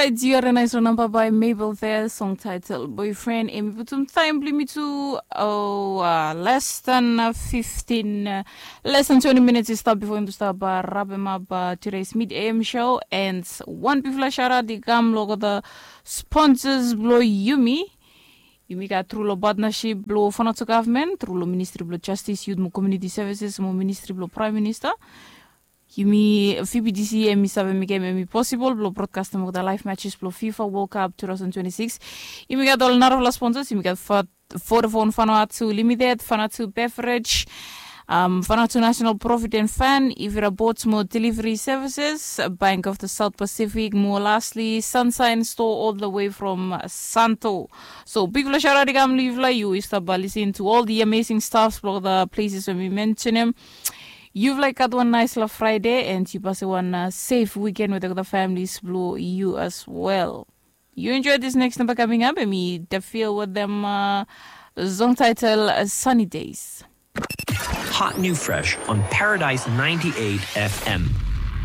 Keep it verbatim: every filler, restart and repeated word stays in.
Rait, yu harim nais long namba bae Mabel Fair, song title Boyfriend. Em i putum taem blong yumi tu, oh, uh, less than uh, fifteen, uh, less than twenty minutes i stap bifo yumi tu stap uh, wrap em up uh, today's mid A M show. And wan bigfala shout out i kam long the sponsors blong yumi. Yumi gat tru long partnership blong Vanuatu Government, tru long Ministry blong Justice, Youth mo Community Services mo Ministry blong Prime Minister. Yumi V B T C em i save mekem em i posibol blong broadcastem olgeta live matches blong FIFA World Cup two thousand twenty-six. Yumi gat ol narafala sponsors, yumi gat Vodafone Vanuatu Limited, Vanuatu Beverage, um, Vanuatu National Profit and Fund, Ivira Boats mo Delivery Services, Bank of the South Pacific mo lastly Sunshine Store all the way from Santo. So bigfala shout out i kam long yufala, yu i stap listening to all the amazing stuffs blong the places we mi mentionem. Yufala i gat wan naispela Friday and yu pasim wan uh, safe weekend with the families blong yu as well. You enjoy this next number coming up, em i Defil with them uh, song title uh, Sunny Days. Hot new fresh on Paradise ninety-eight F M.